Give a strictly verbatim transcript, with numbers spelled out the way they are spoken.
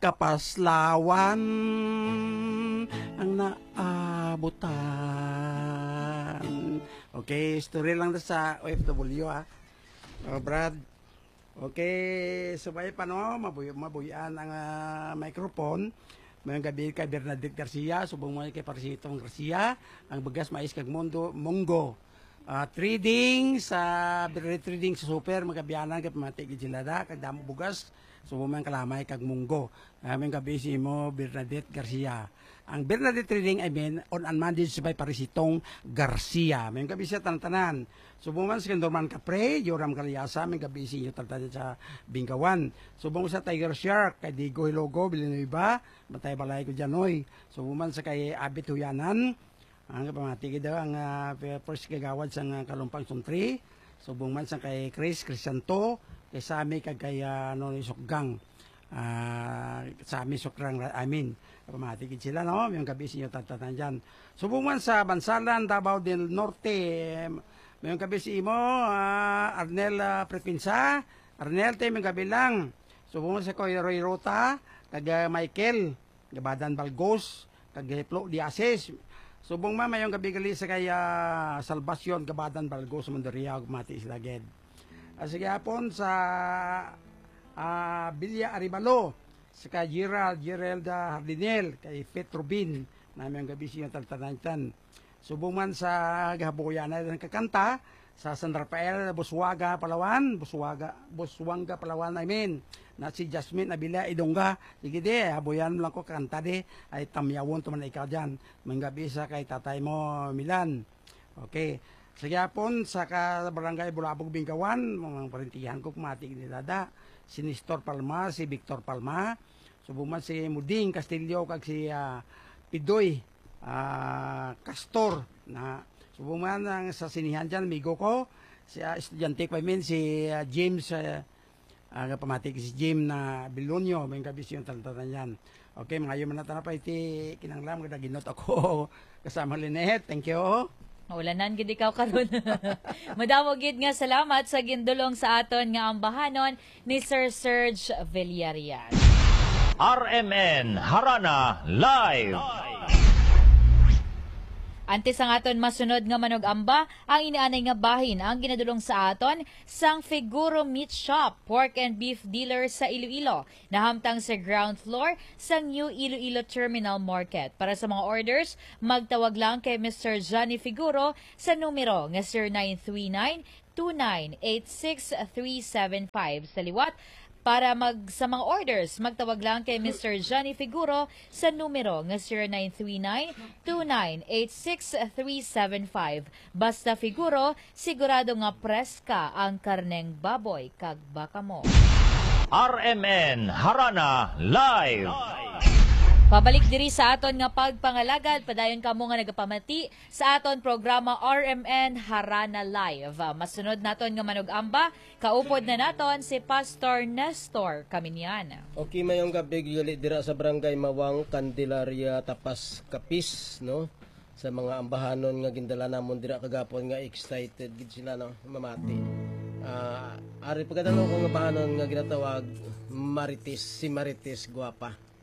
kapaslawan ang naabutan. Okay, story lang na sa O F W, ah. Oh, Brad. Okay, subay pa, no? Mabuy-, mabuyan ang, ah, microphone. Mayong gabi kay Bernadette Garcia, subong mo kay Parisitong Garcia, ang bugas, mais kag mundo, munggo. Ah, trading sa, Bernadette Trading sa super, magabianan kay pamati gid sila da, kag damo bugas, subong man kalamay kag munggo. Ah, mayong gabi sa imo, Bernadette Garcia. Ang Bernadette Trading, I mean, owned and managed by Parisitong Garcia. Mayong gabi sa tanan-tanan. Subong man si Norman Capre, Joram Caliasa, mayong gabi sa inyo tanan-tanan sa Bingawan. Subong sa Tiger Shark, kay Diego Hilogo, Villanueva, matay balay ko dyan, oy. Subong man sa kay Abit Huyanan, ang pamati gid daw ang, ah, first kagawad sa, ah, Kalumpang Suntri. Subong man sa kay Chris Crisanto, kay Sammy, kag kay, ah, ano, ni Sukgang. Ah, Sammy Sukrang, I mean, pamati gid sila, no? Mayong gabi sa inyo tanan-tanan dyan. Subong man sa Bansalan, Davao del Norte, mayong gabi sa imo, ah, Arnel, ah, Prepinsa. Arnel, te, mayong gabi lang. Subong man sa Kuya Roy Rota, kag, ah, Michael Gabadan Balgos, kag Hiplo Diasis. Subong man, mayong gabi gali sa kay, ah, Salvacion Gabadan Balgos, Mondoriao, pamati sila gid. Ah, sige, hapon sa, ah, Villa Arevalo, sa kay Gerald, Gerald, ah, Hardinel, kay Pet Rubin, na mayong gabi sa inyo tanan-tanan. Subong man sa gahabuyan na ng kakanta, sa San Rafael, Busuaga, Palawan, Busuaga, Busuanga, Palawan, I mean, na si Jasmine Abila Idonga. Sige di, habuyan mo lang ko, kanta di, ay tamyawon to man ikaw dyan. Mayong gabi sa kay tatay mo, Milan. Okay. Sa gyapon, sa ka Barangay Bulabog, Bingawan, mga parintihan ko, kumati ni Dada, si Nestor Palma, si Victor Palma, subong man si Muding Castillo, kag si, ah, Pidoy, ah, Castor, na subong man ang sa sinihan dyan, amigo ko, si, ah, estudyante ko, I mean, si, ah, James, ah, ah, nga pamati si Jim na Bilonyo, mayong gabi sa inyo tanan-tanan dyan. Okay, mangayo man na tanan pa iti kinanglan, magdaginot ako kasama Lynette. Thank you. Maulanan gid ikaw karon. Madamo gid nga salamat sa gindulong sa aton nga ambahanon ni Sir Serge Villarreal. R M N Harana Live. Antes ang aton masunod nga manug-amba, ang inianay nga bahin ang ginadulong sa aton sang Figuro Meat Shop, pork and beef dealer sa Iloilo. Nahamtang sa ground floor sang New Iloilo Terminal Market. Para sa mga orders, magtawag lang kay Mister Johnny Figuro sa numero nga zero nine three nine two nine eight six three seven five. Sa liwat, para mag, sa mga orders, magtawag lang kay Mister Johnny Figuro sa numero nga zero nine three nine two nine eight six three seven five. Basta Figuro, sigurado nga preska ang karneng baboy kag baka mo. R M N Harana Live. Pabalik diri sa aton nga pagpangalagad, padayon kamo nga nagapamati sa aton programa R M N Harana Live. Masunod naton nga manug-amba, kaupod na naton si Pastor Nestor Caminian. Okay, mayong gabi gali dira sa Barangay Mawang, Candelaria, Tapas, Capiz, no? Sa mga ambahanon nga gindala namon dira kagapon nga excited gid sila, no, mamati. Ah, ari pagkadalo ko nga ambahanon nga ginatawag Marites, si Marites Guapa.